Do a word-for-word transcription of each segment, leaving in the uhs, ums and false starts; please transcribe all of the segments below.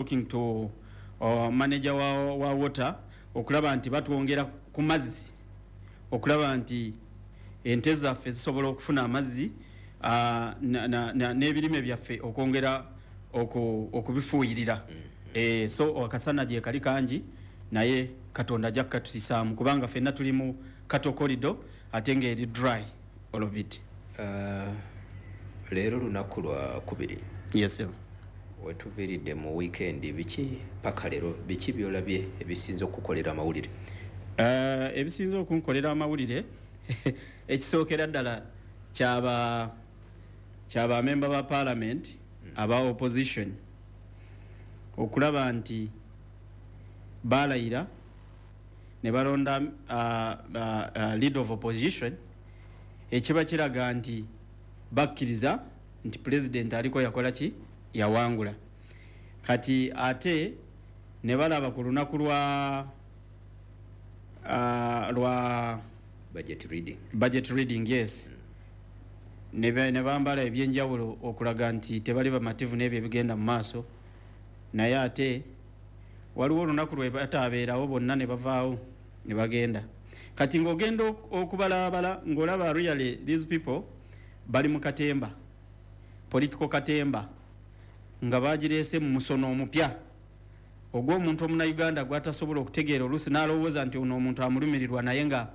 Talking to uh, manager wa, wa water okulaba nti batwongera ku mazzi, okulaba nti ente zaffe zisobola okufuna amazzi uh, n'ebirime byaffe okwongera okubifuuyirira. mm -hmm. E, so akasana gye kali kangi, naye Katonda ajja kukatusisaamu kubanga ffenna tuli mu cattle corridor ate ng'eri dry, all of it. uh, leero lunaku lwa kubiri. Yes, sir. Wetuviiridde mu weekend, biki paka leero, biki byolabye ebisinza okukolera amawulire? uh, ebisinza okunkolera amawulire, ekisookera ddala kyaba kyaba member ba parliament mm. aba opposition okulaba nti balayira ne balonda uh, uh, uh, leader of opposition, ekiba kiraga nti bakkiriza nti president aliko yakola ki, yawangula. Kati ate ne balaba ku lunaku lwa uh, lwa budget reading. Budget reading, yes. mm. ne bambala ebyenjawulo okulaga nti tebali bamativu n'ebyo ebigenda mu maaso, naye ate waliwo olunaku lwe bataabeerawo bonna ne bavaawo ne bagenda. Kati ng'ogenda okubalabala ng'olaba really these people bali mu katemba, political katemba, nga bagireese mu musono omupya ogw'omuntu omunauganda gwatasobola okutegeera, oluusi n'alowooza nti ono omuntu amulumirirwa, naye nga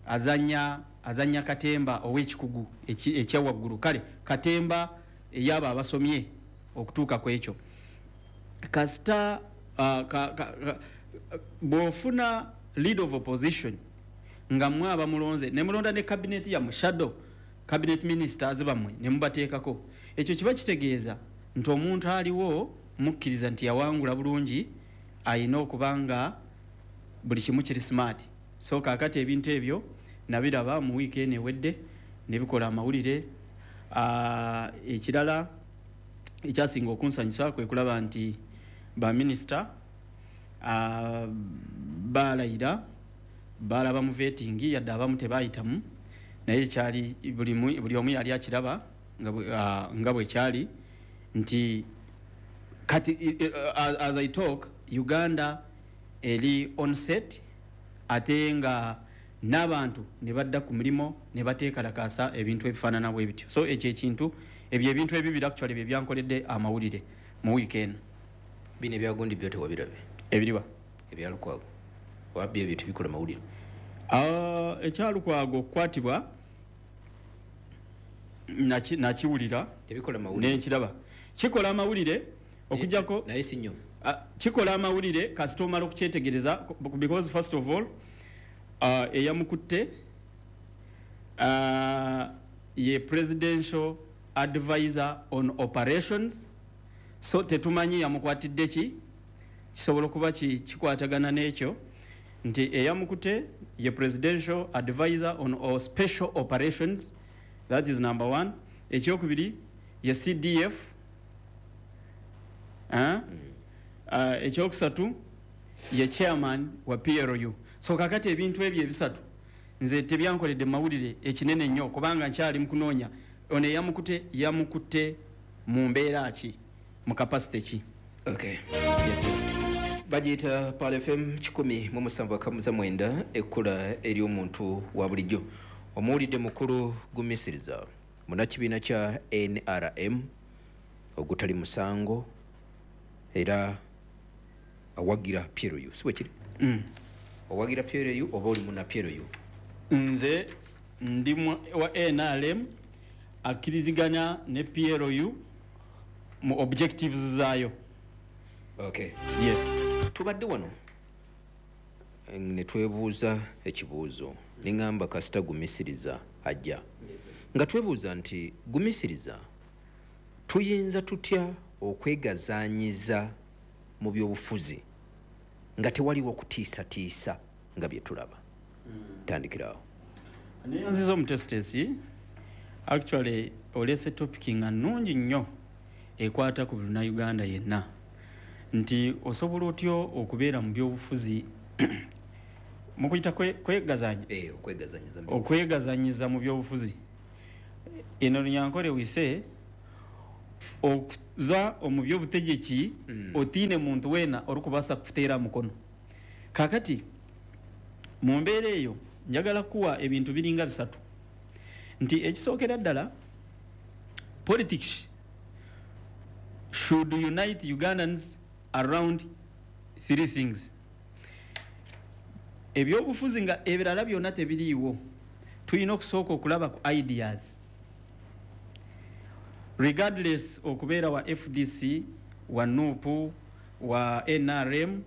azanya azanya katemba ow'ekikugu ekyawaggulu, kale katemba ey'abo abasomye okutuuka ku ekyo. Kasita uh, bw'ofuna lead of opposition nga mmwe abamulonze ne mulonda ne cabinet yammwe, shadow cabinet ministers bammwe ne mubateekako, ekyo kiba kitegeeza nti omuntu aliwo mukkiriza nti yawangula bulungi, ayina okuba nga buli kimu kiri smart. So kaakati ebintu ebyo nabiraba mu wiiki eno ewedde ne bikola amawulire. Ekirala ekyasinga okunsanyusa kwe kulaba nti baminisita balayira, balaba mu vetting, yadde abamu tebayitamu, naye kyali buli omu yali akiraba nga bwe kyali nti kati as I talk, Uganda eri on set, ate nga n'abantu ne badda ku mulimu ne bateekalakaasa ebintu ebifaanana bwe bityo. So ekyo ekintu, ebyo ebintu ebibiri actually bye byankoledde amawulire mu wiiki eno. Bino ebyagundi byo tewabirabye? Ebiriwa? Ebyalukwago wabyo, ebyo tebikola mawulire? Ekyalukwago okukwatibwa nakiwulira. Tebikola mawulire? Nenkiraba kikola amawulire okujjako naye si nnyo. Kikola amawulire kasita omala okukyetegereza, because first of all uh, eyamukutte uh, ye presidential advisor on operations, so tetumanyi yamukwatidde ki, kisobola okuba kikwatagana n'ekyo nti eyamukute ye presidential advisor on special operations. That is number one. Ekyokubiri, ye C D F. uh, mm. uh, ekyokusatu ye chairman wa P L U. So kakati ebintu ebyo ebisatu nze tebyankoledde mawulire ekinene nnyo, kubanga nkyali mukunoonya ono eyamukute yamukutte mu mbeera ki, mu capacity ki. Okay. Yes. Bagiyita Pal F M kikumi mu musanvu akamuza mwenda, ekkula ery'omuntu wa bulijjo. Omuwulidde mukulu Gumisiriza, munnakibiina kya N R M ogutali musango, era awagira P L U, si bwe kiri? mm. Owagira P L U oba oli muna P L U? Nze ndi wa N R M akkiriziganya ne P L U mu objectives zaayo. Okay. Yes. Tubadde wano ne twebuuza ekibuuzo, neŋŋamba kasita Gumisiriza ajja, nga twebuuza nti Gumisiriza, tuyinza tutya okwegazaanyiza mu byobufuzi nga tewaliwo kutiisatiisa nga bye tulaba? Tandikirawo. Neyanziza omutesitesi. Actually oleese topic nga nnungi nnyo ekwata ku Munnayuganda yenna, nti osobola otya okubeera mu byobufuzi mukuyita kwegazanya? Eh, okwegazanyiza. Okwegazanyiza mu byobufuzi. Eno Lunyankole wise Okuza omu byobutegyeki Mm. otiine muntu weena orikubaasa kukuteera mukono. Kakati mu mbeera eyo njagala kuwa ebintu biringa bisatu, nti ekisookera ddala, politics should unite Ugandans around three things. Ebyobufuzi nga ebirala byonna tebiriiwo, tulina okusooka okulaba ku ideas, regardless okubeera wa F D C, wa N U P, wa N R M,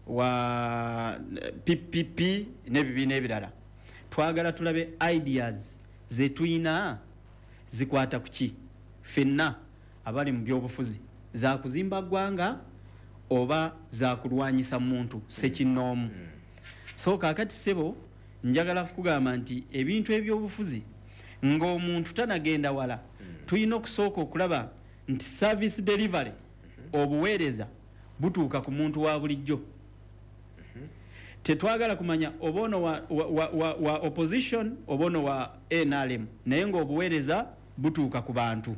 wa P P P n'ebibiina ebirala. Twagala tulabe ideas zetulina zikwata ku ki ffenna abali mu byobufuzi, zakuzimba ggwanga oba zakulwanyisa muntu sekinnoomu. So kaakati ssebo, njagala kukugamba nti ebintu ebyobufuzi, ng'omuntu tanagenda wala, tulina okusooka okulaba nti service delivery, obuweereza butuuka ku muntu wa bulijjo. Tetwagala kumanya oba ono wa, wa, wa, wa, wa opposition oba ono wa N R M, naye ng'obuweereza butuuka ku bantu.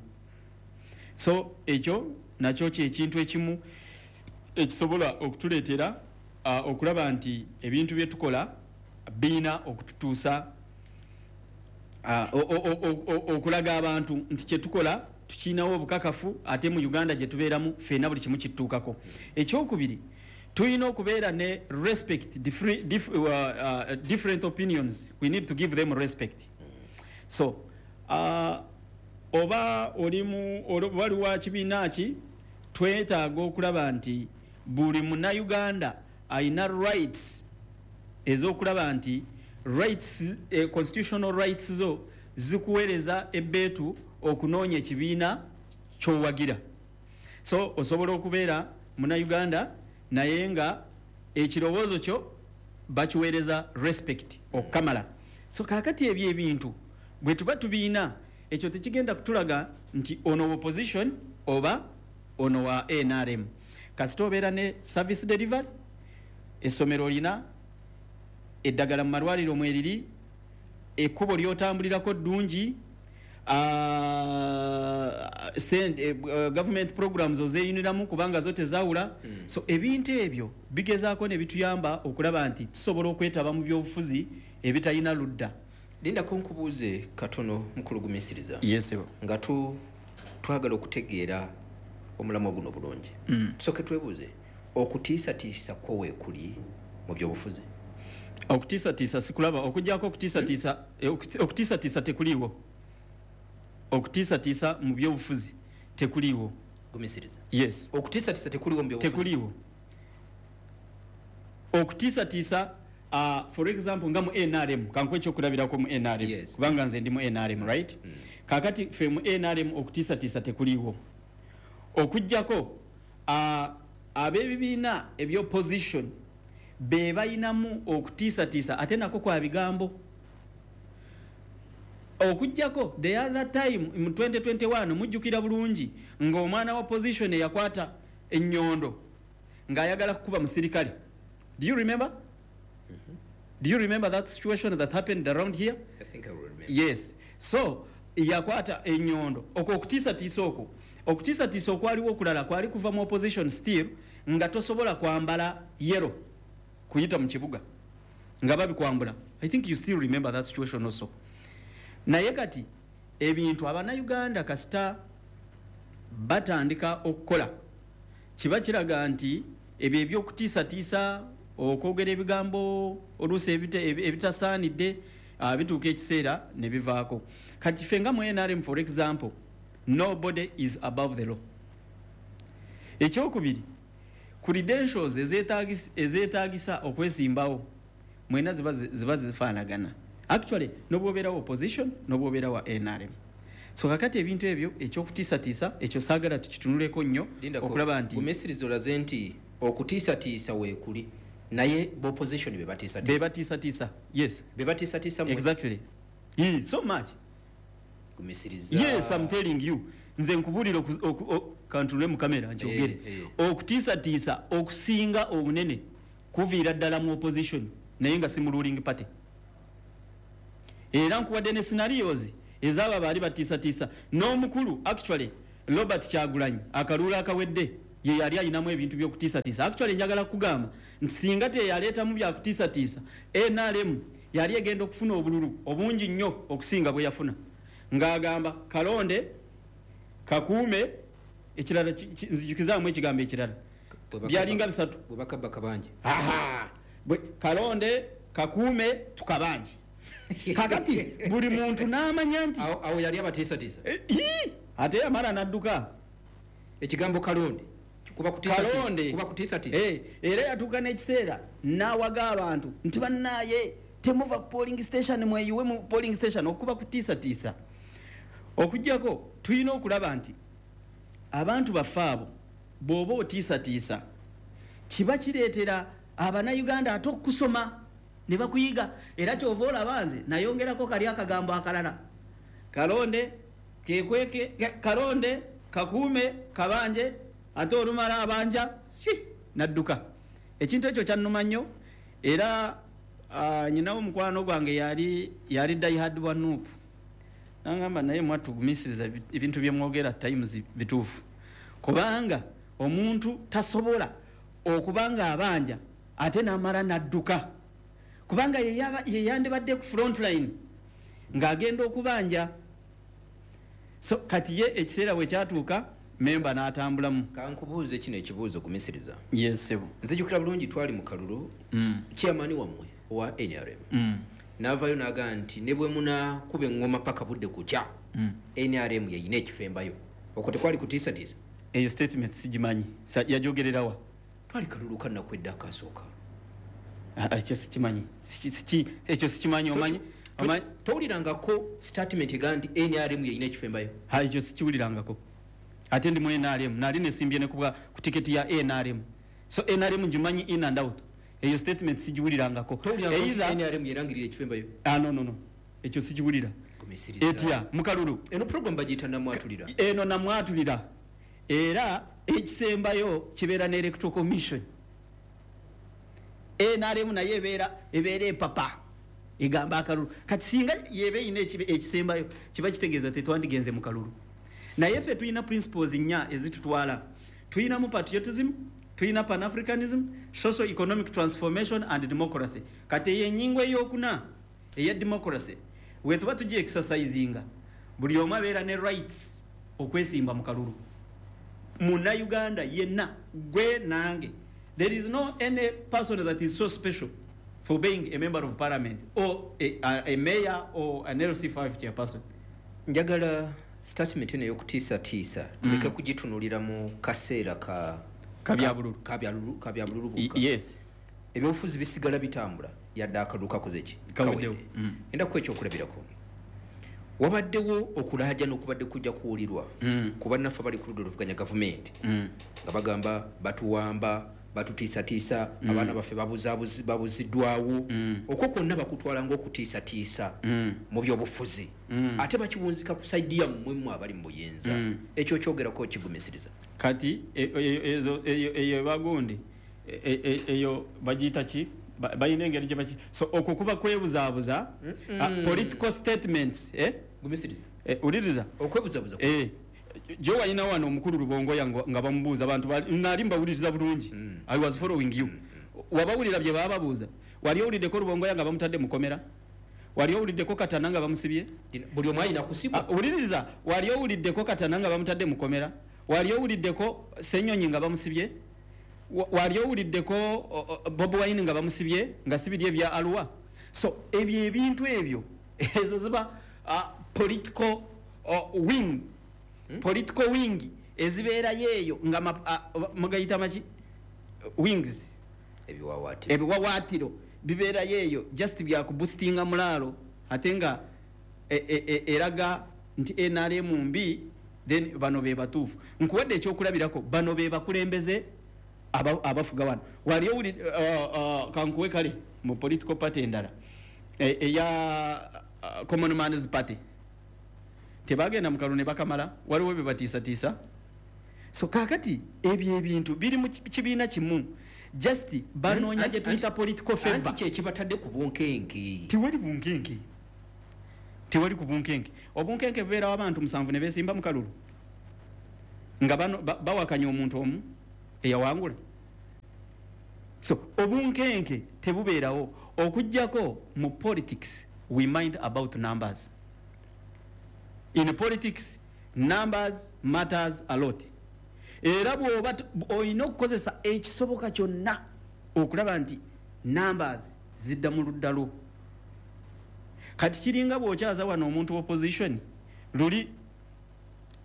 So ekyo nakyo kyekintu ekimu ekisobola okutuleetera uh, okulaba nti ebintu bye tukola biina okututuusa uh, okulaga abantu nti kyetukola tukiinawo obukakafu, ate mu Uganda gye tubeeramu ffenna buli kimu kitutuukako. Ekyokubiri, tulina okubeera ne respect different, dif, uh, uh, different opinions. We need to give them respect. So uh, oba olimu wali wa kibiina ki, twetaaga okulaba nti buli Munnayuganda ayina rights ez'okulaba nti rights, eh, constitutional rights zo zikuweereza ebbeetu okunoonya ekibiina kyowagira. So osobola okubeera Munnayuganda naye nga ekirowoozo kyo bakiweereza respect okukamala. So kaakati ebyo ebintu bwe tuba tubiina, ekyo tekigenda kutulaga nti ono opposition oba ono wa N R M. Kasita obeera ne service delivery, essomero olina, eddagala mu malwaliro mweriri, ekkubo lyotambulirako ddungi, uh, government programs ozeyuniramu kubanga zo tezawula mm. So ebintu ebyo bigezaako ne bituyamba okulaba nti tusobola okwetaba mu byobufuzi ebitalina ludda. Lindako nkubuuze katono, mukulu Gumisiriza. Yes. Nga tu twagala okutegeera omulamwa guno bulungi, mm. tusooke twebuuze, okutiisatiisa kwo weekuli mu byobufuzi? Okutiisatiisa sikulaba, okugyako okutiisatiisa mm. Okutiisatiisa tekuliiwo. Okutiisatiisa mu byobufuzi tekuliiwo. Gumisiriza. Yes. Okutiisatiisa tekuliiwo mu byobufuzi? Tekuliiwo okutiisatiisa. uh, for example, nga mu N R M, kankuwe ekyokulabirako mu N R M, Yes. kubanga nze ndi mu N R M, right? mm. Kakati fe mu N R M okutiisatiisa tekuliiwo, okugjako uh, ab'ebibiina ebyopposition be bayinamu okutiisatiisa, ate nako kwa bigambo. Okugjako the other time mu twenty twenty-one, mujjukira bulungi ng'omwana wa opposition eyakwata ennyondo ng'ayagala kukuba musirikale. Do you remember? mm -hmm. Do you remember that situation that happened around here? I think I will remember. Yes. So yakwata ennyondo. Okwo okutiisatiisa, okwo okutiisatiisa okwaliwo okulala kwali kuva mu opposition still, nga tosobola kwambala yellow kuyita mu kibuga, nga babikwambula. I think you still remember that situation also. Naye kati ebintu Abannayuganda kasita batandika okukola, kiba kiraga nti ebyo ebyokutiisatiisa, okwogera ebigambo oluusi ebitasaanidde, uh, bituuka ekiseera ne bivaako. Kati ffe nga mu N R M, for example, nobody is above the law. Ekyokubiri, credentials ezeetagisa okwesimbawo mwena ziba ziba zifaanagana actually, nobwobeera wa opposition, nobwobeera wa N R M. So kakati ebintu ebyo, ekyokutiisatiisa ekyo saagala tukitunuleko nnyo okulaba nti Gumisiriza, olaze nti okutiisatiisa weekuli, naye bopposition be batiisatiisa. Be batiisatiisa, yes. Be batiisatiisa. Exactly. Yeah, so much. Gumisiriza. Yes, I'm telling you. Nze nkubuulira, kantunule mu kamera nkyogere. Eh, eh. Okutiisatiisa okusinga obunene kuviira ddala mu opposition, naye nga si mu ruling party. Era nkuwadde ne scenarios ezaabo baali batiisatiisa n'omukulu. Actually, Robert Kyagulanyi akalulu akawedde ye yali ayinamu ebintu by'okutiisatiisa. Actually njagala kugamba nti singa teyaleetamu byakutiisatiisa, N R M yali egenda okufuna obululu obungi nnyo okusinga bwe yafuna, ng'agamba kalonde kakuume ekirala, nzijukizaamu ekigambo ekirala byalinga bisatu, bwe bakabba kabanje. Aha, kalonde kakuume tukabanje. Kakati buli muntu n'amanya nti awo yali abatiisatiisa, ate yamala n'adduka. Ekigambo kalonde kuba kutiisatiisa, eh, era yatuuka n'ekiseera n'awaga abantu nti bannaaye temuva ku polling station, mweyiwe mu polling station, okuba kutiisatiisa. Okuggyako tulina okulaba nti abantu baffe abo bw'oba otiisatiisa kiba kireetera Abannayuganda ate okusoma ne bakuyiga. Era ky'ova olaba nze nayongerako kali akagambo akalala, kalonde kekweke, kalonde kakuume kabanje, ate olumala abanja swi nadduka. Ekintu ekyo kyannuma nnyo. Era uh, nyinawo mukwano gwange yali yali diehard wa N U P, nangamba naye mwatugumisiriza ebintu bye mwogera times bituufu, kubanga omuntu tasobola okubanga abanja ate n'amala nadduka, kubanga ye yandibadde ku front line ng'agenda okubanja. So kati ye ekiseera bwe kyatuuka memba n'atambulamu. Kankubuuze kino ekibuuzo gumisiriza. Yes sebo. Nzijukira bulungi twali mu kalulu, mm. chairman wammwe owa N R M mm. n'avaayo n'agamba nti ne bwe munaakuba eŋŋoma paka budde kukya, mm. N R M yeyina ekifembayo. Okwo tekwali kutiisatiisa? Eyo statement sigimanyi, yajogererawa? Twali kalulu ka nnaku edda akasooka. Ekyo sikimanyi, ekyo sikimanyi. Omanyi towulirangako statement egamba nti N R M yeyina ekifembayo? Ekyo sikiwulirangako. Ate ndi mu N R M, nali nesimbye ne ku tiketi ya N R M, so N R M ngimanyi in and out. Eyo statement sigiwulirangako. Either N R M yerangirira ekifembayo? Ah, no no no, ekyo sikiwulira. Etya mukalulu eno program bagiyita namwatulira. Eno namwatulira, era ekisembayo kibeera ne Electoral Commission. N R M naye ebeera ebeera epapa egamba akalulu. Kati singa yebe ine ekisembayo kiba kitegeeza tetwandigenze mu kalulu. Naye ffe tulina principles nnya ezitutwala. Tulinamu patriotism, tulina pan-africanism, social economic transformation and democracy. Kati eyo ennyingo eyokuna eya democracy we tuba tugi exercisinga, buli omu abeera ne rights okwesimba mu kalulu. Munnayuganda yenna, gwe nange, there is no any person that is so special for being a member of parliament or a, a, a mayor or an L C five chairperson. Njagala statement eno ey'okutiisatiisa tuleke kugitunulira mu kaseera ka kabyabululu kabyabululu bukka. Yes. Ebyobufuzi bisigala bitambula yadde akalulu kakoze ki? Kaweddewo. Enda ku ekyokulabirako, wabaddewo okulaaja n'okubadde kujja kuwulirwa ku bannaffe abali ku ludda oluvuganya gavumenti nga bagamba batuwamba, batutiisatiisa, abaana baffe babuziddwawo. Okwo kwonna bakutwala ng'okutiisatiisa mu byobufuzi, ate bakiwunzika ku saidi yammwe mmwe abali mu buyinza. Ekyo kyogerako kigumisiriza. Kati eyo bagundi eyo bagiyita ki? Balina engeri gye baki. So okwo kuba kwebuzaabuza, political statements. Gumisiriza. Uliriza okwebuzaabuza. Jo walina wano omukulu Rubongoya nga bamubuuza abantu nali mbawuliriza bulungi. I was following you. Wabawulira bye bababuuza. Wali owuliddeko Rubongoya nga bamutadde mukomera? Wali owuliddeko Katana nga bamusibye? Buli omu alina kusibwa. Wuliriza, wali owuliddeko Katana nga bamutadde mukomera? Wali owuliddeko Ssenyonyi nga bamusibye? Wali owuliddeko Bobi Wine nga bamusibye nga sibirye bya Arua? So ebyo ebintu ebyo ezo ziba political wing. Hmm? Political wing ezibeerayo eyo nga mugayita maki wings, ebiwawaatiro ebiwawaatiro bibeerayo eyo just byakuboostinga mulaalo, ate nga eraga nti N R M mbi, then bano be batuufu. Nkuwadde ekyokulabirako, bano be bakulembeze abafuga wano. Wali owuli kankuwe kale mu political party endala eya Common Man's Party, tebagenda mu kalulu ne bakamala, waliwo bye batiisatiisa. So kakati ebyo ebintu biri mu kibiina kimu, just banoonya gye tuyita political favor. Anti kye kibatadde ku bunkenke. Tewali bunkenke, tewali ku bunkenke. Obunkenke bubeerawo abantu musanvu ne beesimba mu kalulu. Nga bano bawakanya omuntu omu eyawangula. So obunkenke tebubeerawo okuggyako mu politics we mind about numbers. In politics numbers matters a lot. Era bw'oba olina okukozesa ekisoboka kyonna okulaba nti numbers zidda mu ludda lwo. Kati kiringa bw'okyaza wano omuntu opposition luli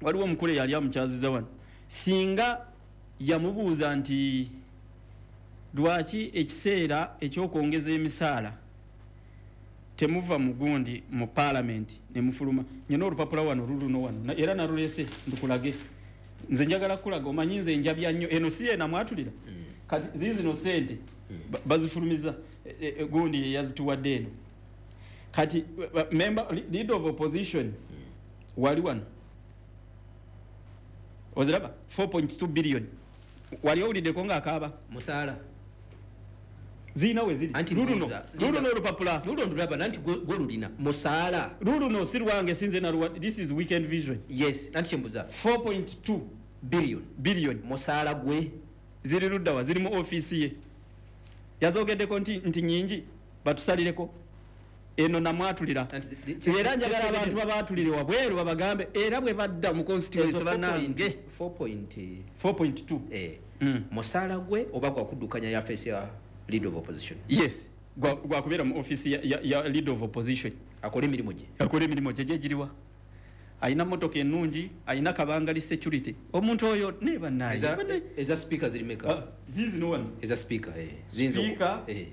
waliwo omukulu eyali amukyaziza wano, singa yamubuuza nti lwaki ekiseera ekyokwongeza emisaala temuva mu gundi mu parliament ne mufuluma. Nyina olupapula wano luluno wano era nalulese ndukulage. Nze njagala kulaga, omanyi nze njabya nnyo eno si yena mwatulira. Mm. Kati zizino sente mm. bazifulumiza e, e, gundi yazituwadde eno. Kati member leader of opposition mm. wali wano oziraba four point two billion wali owuliddeko ng'akaaba musaala zirina we ziri. Luluno luluno olupapula lulo ndulaba nanti gwe lulina musaala luluno si lwange sinze naluwa. This is Weekend Vision. Yes, nanti kyembuza four point two billion billion musaala gwe ziri luddawa, ziri mu ofiisi ye. Yazogeddeko nti nti nyingi batusalireko eno namwatulira. Era njagala abantu babaatulire wabweru babagambe era bwe badda mu constituency bannange four point two eh mm. Musaala gwe oba gwa kuddukanya ya face ya leader of opposition. Yes, gwa gwa kubeera mu office ya, ya, ya leader of opposition. Akole emirimu gye. Akole emirimu gye giriwa. Ayina motoka ennungi, ayina kabangali security. Omuntu oyo ne bannaye. Eza, eza speaker ziri meka. Ah, zizi no one. Eza speaker eh. Zinzo. Speaker eh.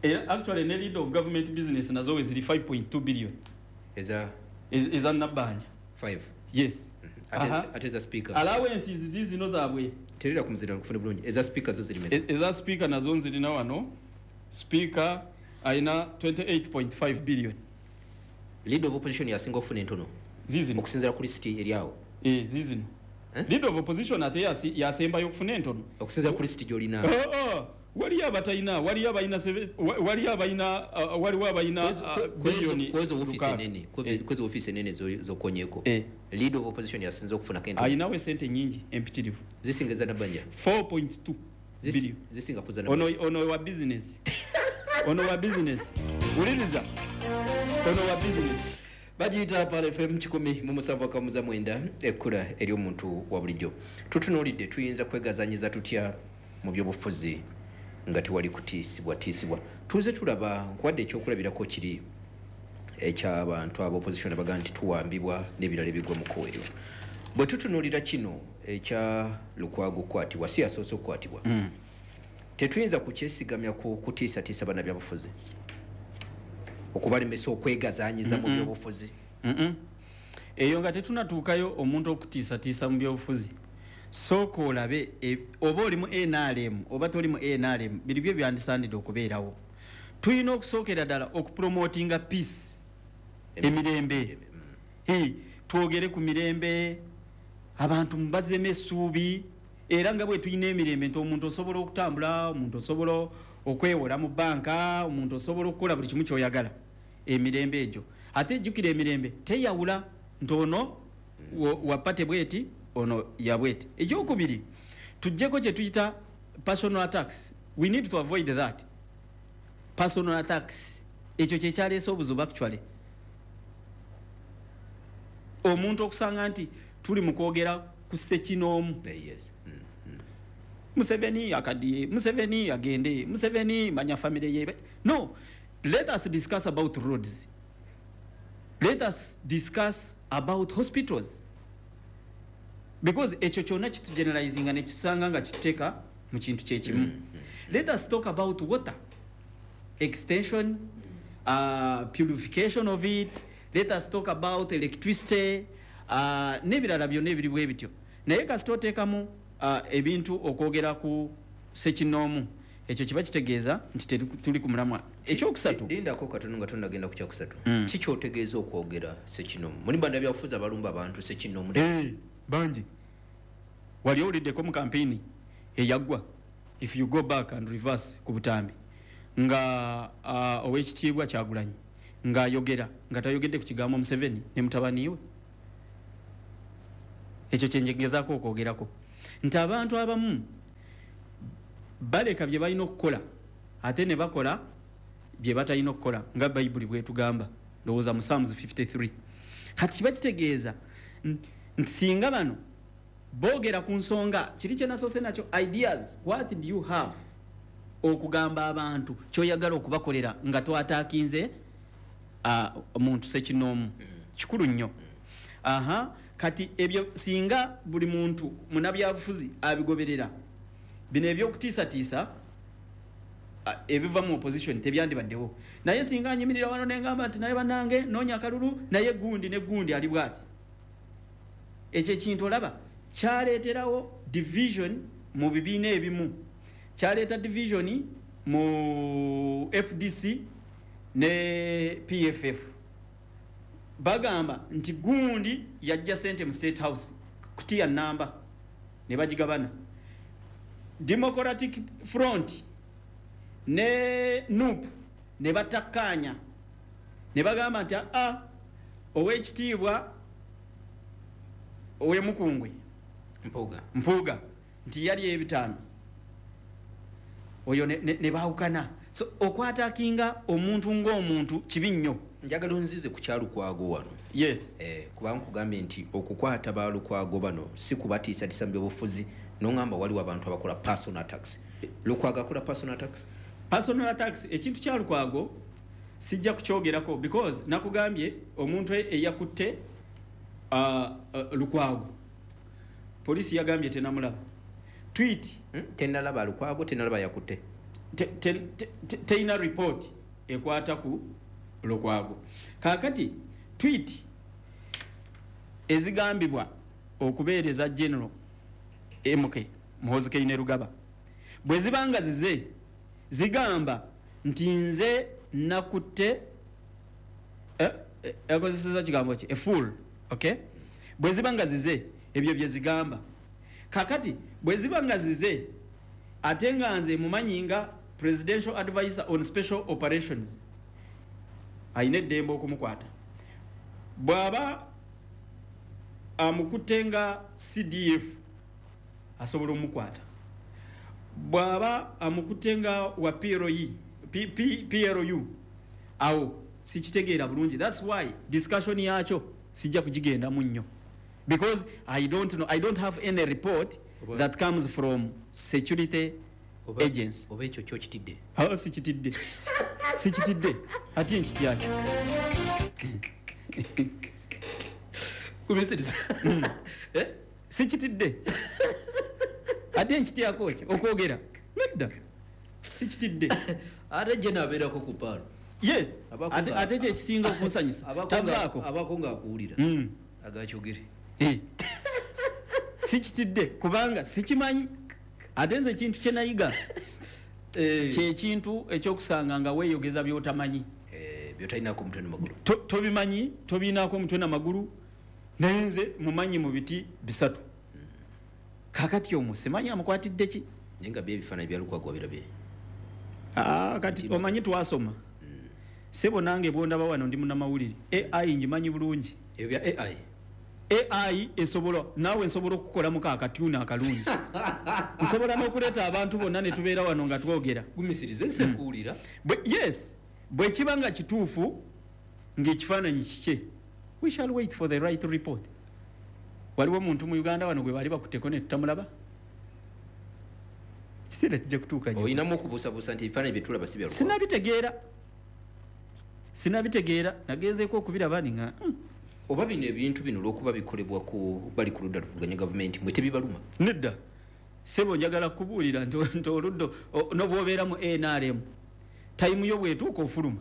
Eh, actually ne leader of government business nazo ziri five point two billion. Eza eza nabanja five. Yes. Mm -hmm. Ate ate speaker. Allowances zizi no zaabwe. Terera kumuzira kufuna bulungi. Eza speaker zo ziri meka. Eza speaker nazo nzirina wano. Speaker ayina twenty-eight point five billion. Leader of opposition yasinga okufuna entono. Zizi okusinzira ku list eri awo. Eh, zizi. Eh? Leader of opposition ate yasi yasembayo okufuna entono. Okusinzira ku list gy'olina. Oh oh. Waliyo abatalina, waliyo abalina waliyo abalina waliwo abalina billion kwezo office enene, kwezo office enene zokonyeko. Eh. Leader of opposition yasinze okufuna kento. Ayinawe sente nyingi empitirivu. Zisinga za Nabanja. four point two billion. Zisinga kuza Nabanja. Ono ono wa business. Ono wa business. Uliriza. Ono wa business. Bagiyita Pearl F M kikumi mu musanvu akamuza mwenda ekkula eri omuntu wa bulijjo. Tutunuulidde tuyinza kwegazanyiza tutya mu byobufuzi nga tewali kutiisibwa tiisibwa. Tuze tulaba nkwadde ekyokulabirako kiri eky'abantu aba opposition abaga nti tuwambibwa n'ebirala ebigwa mu kkowerero. Bwe tutunuulira kino ekya Lukwago okukwatibwa, si yasoose okukwatibwa, mm. tetuyinza kukyesigamya ku kutiisatiisa bannabyabufuzi okubalemesa okwegazanyiza mu byobufuzi. Eyo nga tetunatuukayo omuntu okutiisatiisa mu byobufuzi, sooka olabe e, oba oli mu N R M oba toli mu N R M, biri byo byandisandidde okubeerawo. Tulina okusookera ddala okupromotinga peace, emirembe. Hey, twogere ku mirembe, abantu mubazemu essuubi, era nga bwe tulina emirembe nti omuntu osobola okutambula, omuntu osobola okwewola mu banka, omuntu osobola okukola buli kimu ky'oyagala. Emirembe egyo. Ate jjukira emirembe teyawula nti ono wa party bweti, ono ya bweti. Ekyokubiri, tuggyeko kye tuyita personal attacks. We need to avoid that. Personal attacks. Ekyo kye kyaleese obuzibu actually. Omuntu okusanga nti tuli mu kwogera ku ssekinoomu. Yes. Mm, mm. Museveni akadiye, Museveni agende, Museveni manya family ye. No, let us discuss about roads. Let us discuss about hospitals. Because ekyo kyonna kitugeneralizinga ne kisanga nga kituteeka mu kintu kye kimu. Mm, mm. Let us talk about water extension, uh, purification of it. Let us talk about electricity, uh, n'ebirala byonna ebiri bwe bityo. Naye kasita oteekamu uh, ebintu okwogera ku ssekinoomu, ekyo kiba kitegeeza nti tuli ku mulamwa. Ekyokusatu, lindako katono nga tonnagenda ku kyakusatu. Mm. Ki kyotegeeza okwogera ssekinoomu? Muli bannabyabufuzi abalumba abantu ssekinoomu. Hey, bangi. Wali owuliddeko mu kampeyini eyaggwa, if you go back and reverse ku butambi, nga uh, owekitiibwa Kyagulanyi ng'ayogera nga tayogedde ku kigambo Museveni ne mutabani we. Ekyo kyenjegezaako okwogerako nti abantu abamu baleka bye balina okukola ate ne bakola bye batalina okukola, nga Bayibuli bwetugamba, ndowooza mu Psalms fifty-three. Kati kiba kitegeeza nti singa bano boogera ku nsonga kiri kye nasoose nakyo, ideas, what do you have okugamba abantu kyoyagala okubakolera nga twataakinze muntu sekinoomu, kikulu nnyo. Aha, kati ebyo singa buli muntu munabyabufuzi abigoberera, bino ebyokutiisatiisa ebiva mu opposition tebyandibaddewo. Naye singa nyimirira wano nengamba nti naye bannange noonya akalulu, naye gundi ne gundi ali bwati, ekyo ekintu olaba kyaleeterawo division mu bibiina ebimu, kyaleeta division mu F D C ne P F F. Bagamba nti gundi yajja sente mu State House kutiya namba ne bagigabana. Democratic Front ne N U P ne batakkaanya ne bagamba nti a ow'ekitiibwa ow'emukungwe Mpuuga Mpuuga nti yali ebitaano, oyo ne, ne, ne baawukana. So okwatakinga omuntu ng'omuntu kibi nnyo. Njagala onzize ku kya Lukwago wano. Yes. Eh, kubanga nkugambye nti okukwata ba Lukwago bano si kubatiisatiisa mu byobufuzi, n'ongamba waliwo abantu abakola personal attacks. Lukwago akola personal attacks? Personal attacks, ekintu kya Lukwago sijja kukyogerako because nakugambye omuntu eyakutte uh, uh, Lukwago polisi yagambye tenamulaba. Tweet hmm? Tenalaba Lukwago, tenalaba yakutte. Teina report ekwata ku Lukwago. Kaakati tweet ezigambibwa okubeereza General M K Muhoozi Kainerugaba bwe zibanga zize zigamba nti nze nakutte eh, akozeseza kigambo ki, a fool, okay? Bwe zibanga zize ebyo bye zigamba. Kakati bwe zibanga zize ate nga nze mumanyi nga presidential advisor on special operations ayina eddembe okumukwata, bw'aba amukutte nga C D F asobola omukwata, bw'aba amukutte nga wa P L E, P, P, P L U, awo sikitegeera bulungi. That's why discussion yakyo sijja kugigendamu nnyo because I don't know, I don't have any report Oba, that comes from security oba, agents. Oba ekyo kyo kitidde? Awo sikitidde. Sikitidde. Ate nkityaki? Kubisiriza. Mm. Eh? Sikitidde. Ate nkityako ki? Okwogera. Nedda. Sikitidde. Ate je nabeerako ku paalo. Yes. Abako Ate, nga- ate kye kisinga okunsanyusa. Abako nga- Tavaako. Abako nga akuwulira. Mm. Agakyogere. Eh. Sikitidde kubanga sikimanyi. Ate nze ekintu kye nayiga Eh. kye kintu ekyokusanga nga weeyogeza by'otamanyi. Eh, by'otalinaako mutwe n'amagulu. To-, tobimanyi, tobinaako mutwe n'amagulu. Naye nze mumanyi mu biti bisatu. Kaakati omwo simanyi amukwatidde ki? Naye nga bye ebifaananyi bya Lukwago wabirabye. Ah, kati Nti omanyi twasoma. Mm. Ssebo nange bw'ondaba wano ndi munnamawulire. A I ngimanyi bulungi. Ebyo bya A I? A I esobola, naawe nsobola okukolamu akatuni akalungi. Nsobola n'okuleeta abantu bonna ne tubeera wano nga twogera. Gumisirize nse nkuwulira. Bwe, yes, bwe kiba nga kituufu ng'ekifaananyi kikye, we shall wait for the right report. Waliwo omuntu mu Uganda wano gwe baali bakutteko ne tutamulaba? Ekiseera kijja kutuuka nnyo. Olinamu okubuusabuusa nti ebifaananyi bye tulaba si bya Lukwago? Sinabitegeera. Sinabitegeera, nagenzeeko okubiraba ni nga, hmm. Oba bino ebintu bino olw'okuba bikolebwa ku bali ku ludda luvuganya gavumenti, mwe tebibaluma? Nedda. Ssebo njagala kukubuulira nti, nti oludda, o-, n'obwobeera mu N R M, tayimu yo bw'etuuka ofuluma.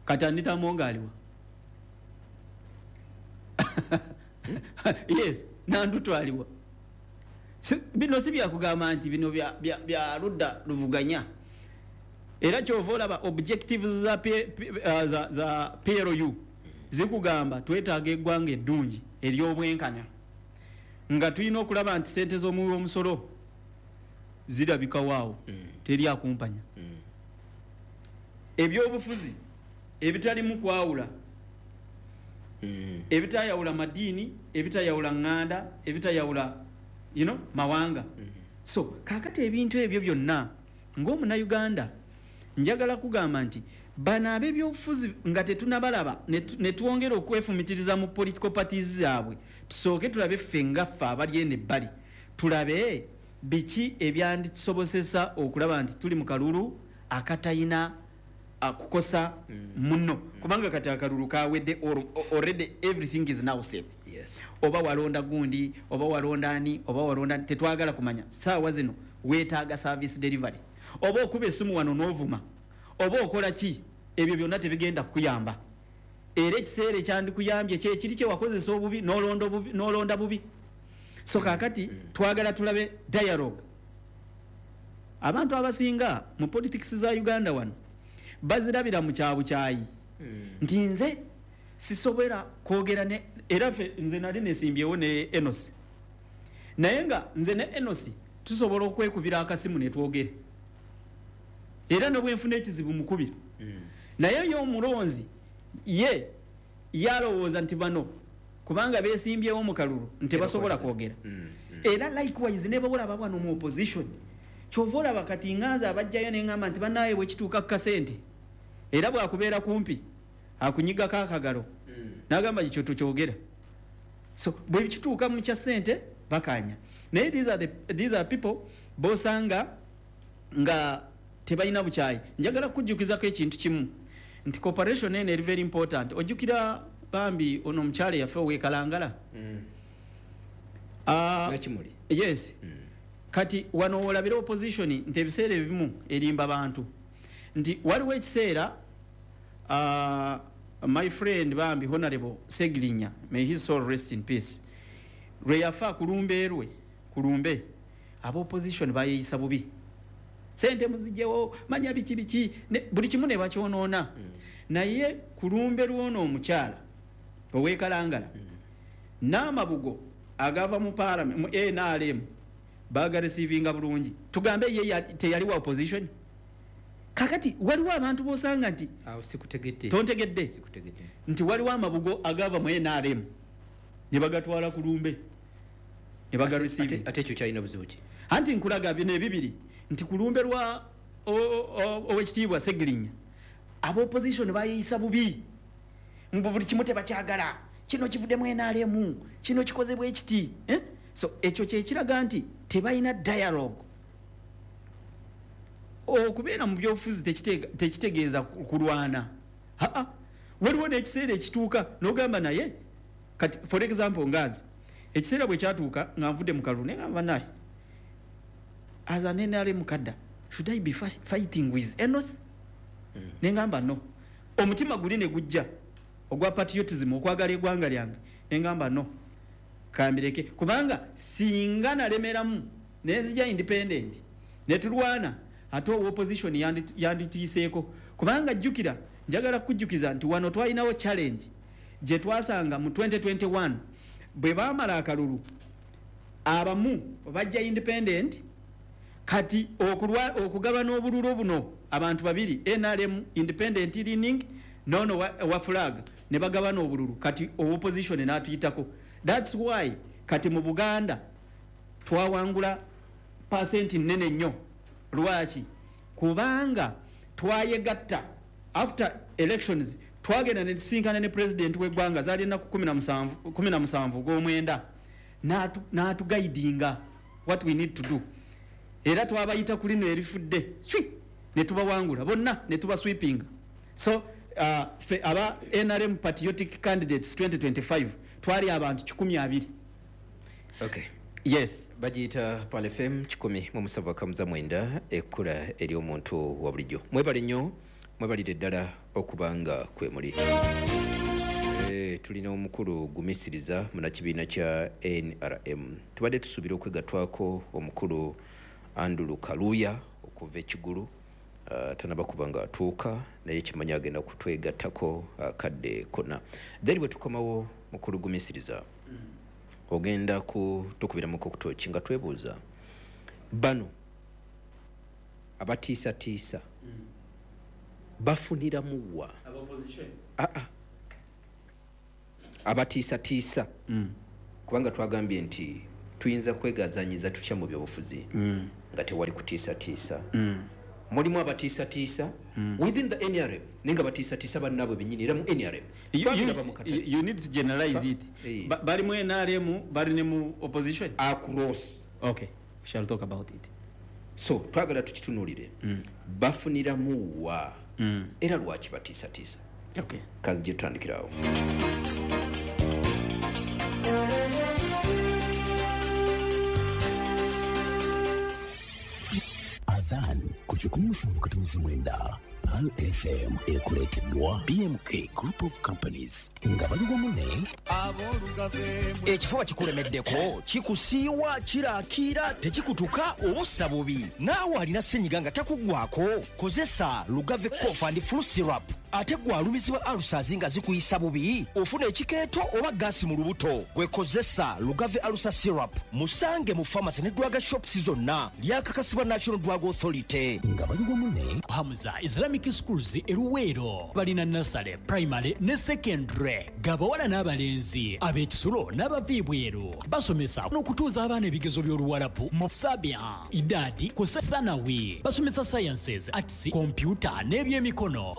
Kati Anita Among aliwa? Yes, Nandutu aliwa. Si, bino si byakugamba nti bino bya, bya, bya ludda luvuganya. Era ky'ova olaba objectives za P, P, uh, za, za P L U zikugamba twetaaga eggwanga eddungi ery'obwenkanya, nga tulina okulaba nti ssente z'omuwi w'omusolo zirabika waawo, Mm. teri akumpanya. Mm. Ebyobufuzi ebitalimu kwawula mm. ebitayawula madiini, ebitayawula nganda, ebitayawula you know, mawanga. mm. So kakati ebintu ebyo byonna ng'omunnayuganda njagala kugamba nti bano ab'ebyobufuzi nga tetunabalaba ne twongera okwefumitiriza mu political parties zaabwe, tusooke tulabe ffe nga ffe abali eno ebbali, tulabe biki ebyanditusobozesa okulaba nti tuli mu kalulu akatayina kukosa muno, kubanga kati akalulu kawedde, already everything is now set. Yes. Oba walonda gundi, oba walonda ani, oba walonda, tetwagala kumanya. Saawa zino weetaaga service delivery, oba okuba esimu wano n'ovuma, oba okola ki, ebyo byonna tebigenda kukuyamba. Era ekiseera ekyandikuyambye kyekiri kye wakozesa obubi n'olonda bubi, n'olonda bubi. So kaakati twagala tulabe dialogue. Abantu abasinga mu politics za Uganda wano bazirabira mu kyabukyayi nti nze sisobera kwogera ne, era ffe nze nali nesimbyewo ne Enos, naye nga nze ne Enos tusobola okwekubira akasimu ne twogera, era ne bwenfuna ekizibu mukubira. Naye ye omulonzi ye yalowooza nti bano kubanga beesimbyewo mu kalulu nti basobola kwogera. Era likewise ne bawolaba bano mu opposition, kyova olaba kati nganza abajjayo ne ngamba nti bannaaye bwe kituuka ku kasente, era bwakubeera kumpi akunyigako akagalo n'agamba kikyo tukyogera. So bwe kituuka mu kya ssente bakanya. Naye these are the, these are people bosanga nga tebalina bukyayi. Njagala kujjukizako ekintu kimu nti cooperation eno eri very important. Ojjukira bambi ono omukyala yaffe ow'e Kalangala, Nakimuli. Yes. Kati wano wolabira opposition nti ebiseera ebimu erimba bantu, nti waliwo ekiseera uh, my friend bambi Honorable Segirinya, may his soul rest in peace, lwe yafa kulumbe lwe kulumbe aba opposition bayeyisa bubi, sente muzijewo manya biki biki, buli kimu ne bakyonoona. mm. Naye kulumbe lwono omukyala ow'e Kalangala mm. n'amabugo agava mu parliament mu N R M bagarecevinga bulungi, tugambe ye teyali wa opposition. Kakati waliwo abantu bosanga nti awo sikutegedde, tontegedde, sikutegedde nti waliwo amabugo agava mu N R M ne bagatwala kulumbe ne bagareceive. Ate ekyo kyalina buzibu ki? Anti nkulaga bino ebibiri nti kulumbe lwa owekitiibwa Segirinya aba opposition bayeyisa bubi, mbu buli kimu tebakyagala, kino kivuddemu N R M, kino kikozebwa ekiti, eh? So ekyo kyekiraga nti tebalina dialogue. Okubeera mu byobufuzi tekitegeeza kulwana. Aa, waliwo n'ekiseera ekituuka n'ogamba naye kati for example ngazi ekiseera bwe kyatuuka nga nvudde mu kalulu ne ngamba naye as an N R M cadre should I be fighting with Enos? mm. Ne ngamba no. Omutima guli ne gujja ogwa patriotism, okwagala eggwanga lyange, ne ngamba no, kambireke, kubanga singa nalemeramu nenzija independent ne tulwana ate opposition yandituyiseeko. Kubanga jjukira, njagala kujjukiza nti wano twalinawo challenge gye twasanga mu twenty twenty-one bwe baamala akalulu abamu bajja independent, kati okugabana obululu buno abantu babiri N R M independent leaning nono wa, wa flag ne bagabana obululu, kati opposition n'atuyitako. That's why kati mu Buganda twawangula percent nene nnyo. Lwaki? Kubanga twayegatta after elections, twagenda ne tusinkana ne president w'eggwanga zaali ennaku kumi na musanvu ogw'omwenda, n'atuguidinga what we need to do. Era twabayita ku lino erifudde swi ne tubawangula bonna ne tubasweepinga. So uh, fe aba N R M patriotic candidates twenty twenty-five twali abantu kikumi abiri. Okay. Yes. Bagiyita Pearl F M kikumi mu musanvu akamuza mwenda, ekkula ery'omuntu wa bulijjo. Mwebale nnyo, mwebalire ddala okubanga kwe muli. E, tulina omukulu Gumisiriza munnakibiina kya N R M. Tubadde tusuubira okwegattwako omukulu Andrew Kaluya okuva e Kigulu. Uh, tanaba kubanga atuuka, naye kimanyi agenda kutwegattako akadde uh, konna. Then bwe tukomawo mukulu Gumisiriza, ogenda kutukubiramuko kutoki nga twebuuza bano abatiisatiisa bafuniramuwa? Ah ah. Abatiisatiisa mm. Kubanga twagambye nti tuyinza kwegazanyiza tutya mu byobufuzi mm. nga tewali kutiisatiisa. mm. Mulimu abatiisatiisa mm. within the N R M, ninga batiisatiisa bannaabwe bennyini era mu N R M. You, you, you need to generalize it. Hey. Ba, bali mu N R M, bali ne mu opposition across. Okay, we shall talk about it. So twagala tukitunuulire mm. bafuniramu wa mm. era lwaki batiisatiisa. Okay, kazi gye tutandikirawo. Ku kikumi musanvu katunzi mwenda Pearl F M ekuleeteddwa B M K Group of Companies nga bali wamu ne ekifo bakikulemeddeko kikusiiwa kirakiira tekikutuka obussa bubi naawe alina ssenyiga nga takuggwako kozesa Lugave Cough and Flu Syrup. Ate gwe alumizibwa ulcers nga zikuyisa bubi ofuna ekikeeto oba gaasi mu lubuto gwe kozesa Lugave Ulcer Syrup. Musange mu pharmacy ne drug shops zonna lyakakasibwa National Drug Authority nga bali wamu ne Hamza Islamic Schools eruweero balina nursery, primary ne secondary gabawala n'abalenzi ab'ekisulo n'abaviibweru basomesa n'okutuuza abaana ebigezo by'oluwalabu mu Sabia Idadi ku Thanawi basomesa sciences, arts, computer n'ebyemikono.